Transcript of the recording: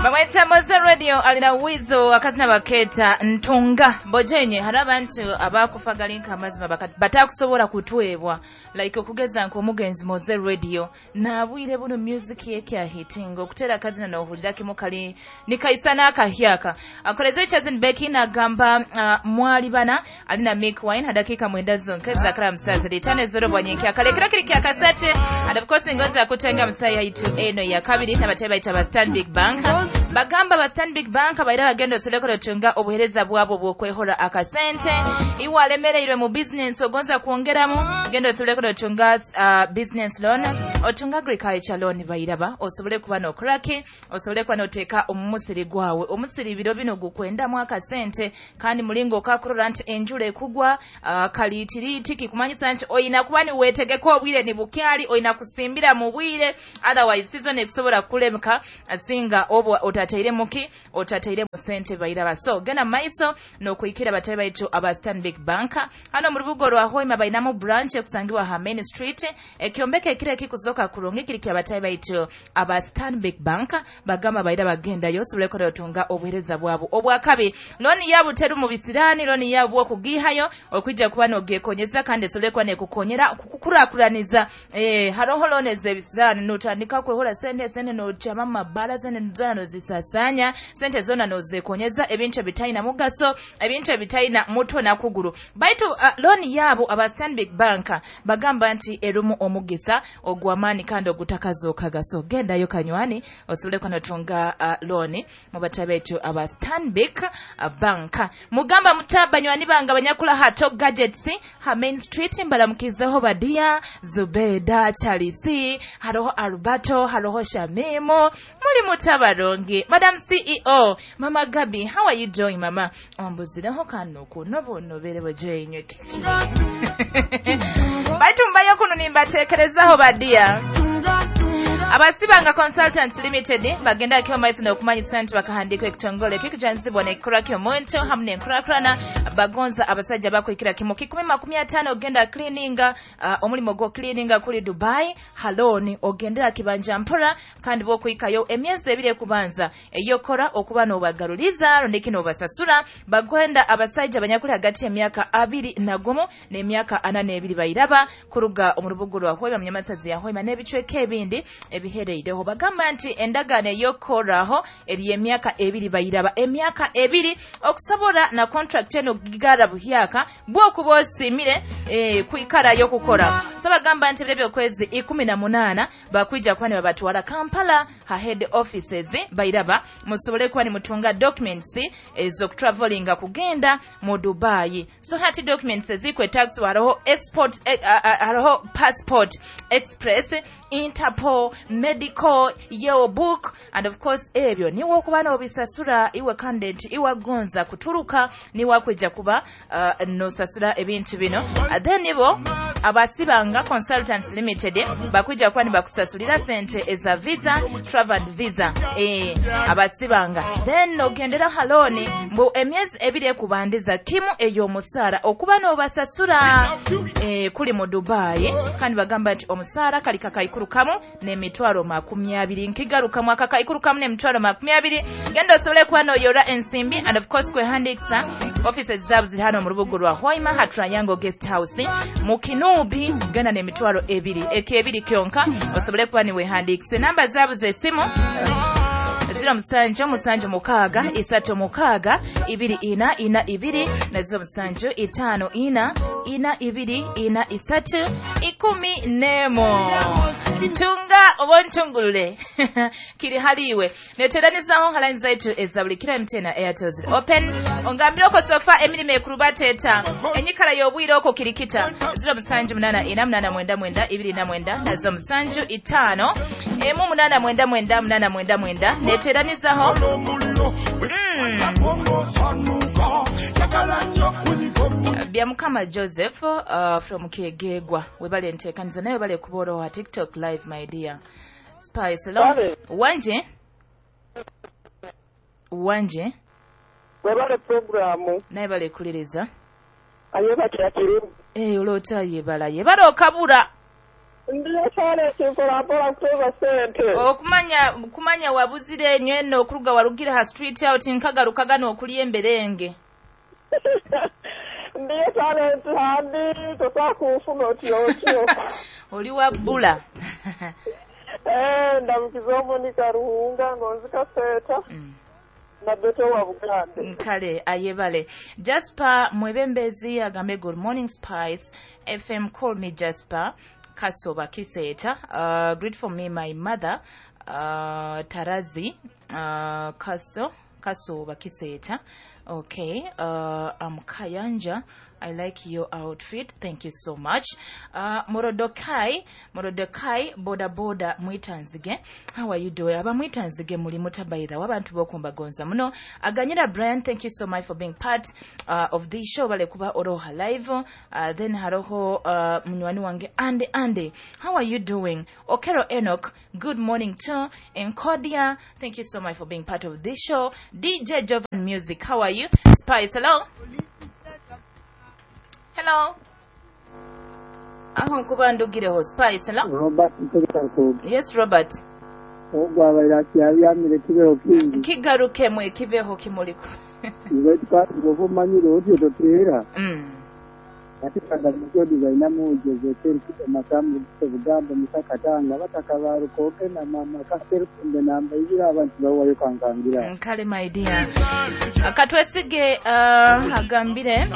Bamweta Moze Radio alina Wizo akazina baketa ntunga bojenye hari abantu abakufa galinka amazima batakusobola kutwebwa like okugeza nko omugenzi Moze Radio nabwire buno music yake ahitinga okutera akazina nohulira kimu kali nikaisana akahyaka akoleze Chazen Becky nagamba mwali bana alina Mick Wine hadakika 9 zonke zakara musaza litane zero bwanyenki akalekera kiri kya kasate and of course ngoza kutenga musaya itu eno ya kabiri n'abatebe bayita ba Stanbic Bank bagamba ba Stanbic Bank baira bagenda osolekolo tunga obuhereza bwabo bwokwehora akasente iwe alemereirwe mu business ogonza kuongeramu genda osolekolo tunga business loan otunga agriculture loan bairaba osobole kuba no kraki osobole kuba noteka omusiri gwawe omusiri biro bino gukwendamu akasente kandi mulingo okakurora nti enjula ekugwa kaliitiriti kikumanyisa nti oyina kuba niwetegeka obwire ni bukyali oyina kusimbira mu bwire otherwise season ekusobola kulemka singa obwa otataire muki otataire mu sente bairaba so genda maiso nokuikira batabe baitu aba Stanbic Bank hano mu rubugo rwa Hoima bainamu branch ekusangibwa ha Main Street ekyombeke kire kikuzoka kurungi kiri kya batabe baitu aba Stanbic Bank bagamba baira bagenda yosobole kola otunga obuhereza bwabo obwakabi loni yabo teru mu bisirani loni yabo okugihayo okwijja kuba nogekonyeza kandi esobole kuba nekukonyera kukurakuraniza haroho loni ez'ebisirani notandika kwehora sente sente nochama mabara sente zona nozisasanya sente zona nozekonyeza ebintu ebitaina mugaso ebintu ebitaina mutwe na kuguru baitu loni yabo aba Stanbic Bank bagamba nti erumu omugisa ogwamani kandi ogutakazoka gaso gendayo kanywani osobole kuba notunga loni mu batabetu aba Stanbic Bank mugamba mutaba nywani banga banyakula hato gadgets ha Main Street mbalamukizeho Badia Zubeda Charisi haroho Alberto haroho Shamimo muri mutabarongi Madam CEO Mama Gabi, how are you doing mama? Ombuzireho kano kuno bono bere bojenye baitu mbayo kuno nimbatekerezaho Badia Abasibanga Consultants Limited bagenda kiyo maiso n'okumanyisa nti bakahandikwa ekitongole kikujanzibwa n'ekikora ky'omuntu hamu n'enkurakurana bagonza abasajja bakwikira kimu 150 ogenda cleaninga omulimo gwo cleaninga kuli Dubai haloni ogendera kibanja mpora kandi bokwikayo emyezi ebiri ekubanza eyokora okuba n'obagaruliza rondeki n'obasasura bagwenda abasajja banyakuli hagati y'emyaka 21 n'emyaka 42 bairaba kuruga omu rubuga rwa Hoima munyamasazi ya Hoima n'ebicweka ebindi ebihereireho bagamba nti endagaano eyokoraho eri emyaka 2 bairaba emyaka 2 okusobola na contract eno gigara buhyaka bwokuba osimire kwikarayo kukora so bagamba nti ebyo kwezi 18 bakwija kuba nibabatwala Kampala ha head offices bairaba musobole kuba nimutunga documents ez'okutravelinga kugenda mu Dubai so hati documents ezikwetax hariho export hariho passport express Interpol medical yellow book and of course ebyo niwe okuba n'obisasura iwe candidate iwe gonza kuturuka niwe akwijja kuba nosasura ebintu bino then nibo Abasibanga Consultants Limited bakwijja kuba nibakusasulira sente eza visa travel and visa abasibanga then ogendera haloni mbu emyezi ebiri ekubandiza kimu ey'omusaara okuba n'obasasura kuli mu Dubai kandi bagamba nti omusaara kali kakaikuru kamu n'emitwalo 20 nkigarukamu akakaikuru kamu n'emitwalo 20 genda osobole kuba n'oyora ensimbi and of course kwehandikisa offices zaabo ziri hano mu rubuga rwa Hoima ha Triangle Guest House mu Kinubi genda n'emitwalo 2 ekebiri kyonka osobole kuba niwehandikise namba zaabo z'essimu 0 7 7 6 6 2 4 4 2 na 0 7 5 4 4 2 4 3 11 ntunga obontungulule kiri haliwe neteranizaho line zaitu ezabulikira MTN na Airtel ziri open ongambira oko sofa emirimo ekurubateta enyikara y'obwire oko kirikita 0 7 8 4 8 9 29 na 0 7 5 8 9 9 9 9 neteranizaho Byamukama Joseph from Kiegegwa webale ntekaniza naye webale kuboro wa TikTok live my dear Spice. Hello. Wanje wanje webale programu naye bale kuliriza ayeba kyakiri olota yebala yebala okabura Ndiyo talenti mpola mpola kutoza sente. Okumanya kumanya wabuzire enywene okuruga warugire ha street out nkagaruka gano okulya emberenge. Ndiyo talenti handi totakufuna otyo otyo. Oli wabbula. Ndamukiza Monica Ruhunga ngonzika seta. Nabeto wa Buganda. Kale ayebale. Jasper Mwebembezi agambe good morning Spice FM, call me Jasper Kasoba Kiseta. Greet for me my mother Tarazi Kasoba Kiseta. Okay, I'm Kayanja. I like your outfit. Thank you so much. Morodokai boda boda mwitanzige. How are you doing? Aba mwitanzige muli mutabaida wabantu bokumba gonza muno. Aganyira Brian, thank you so much for being part of this show. Bale kuba oroha live. Then haroho munywani wange Ande. How are you doing? Okero Enoch, good morning too. Enkodia, thank you so much for being part of this show. DJ Jovan Music, how are you? Spice, hello. Hello. Aho nkuba ndugireho Spice, hello. Robert. Yes, Robert. Ogwabaira kyabyamire kibeho kingi. Kigarukemwe kibeho kimuliko. Iwe twavumanyire otyo toteera. Ati kanda mukyo designer mujeze teriki makamu Buganda musakatanga batakabarukoke na mama kaserukunde namba ibira abantu bawayo kankangira. Kale my dear. Akatwesige agambire.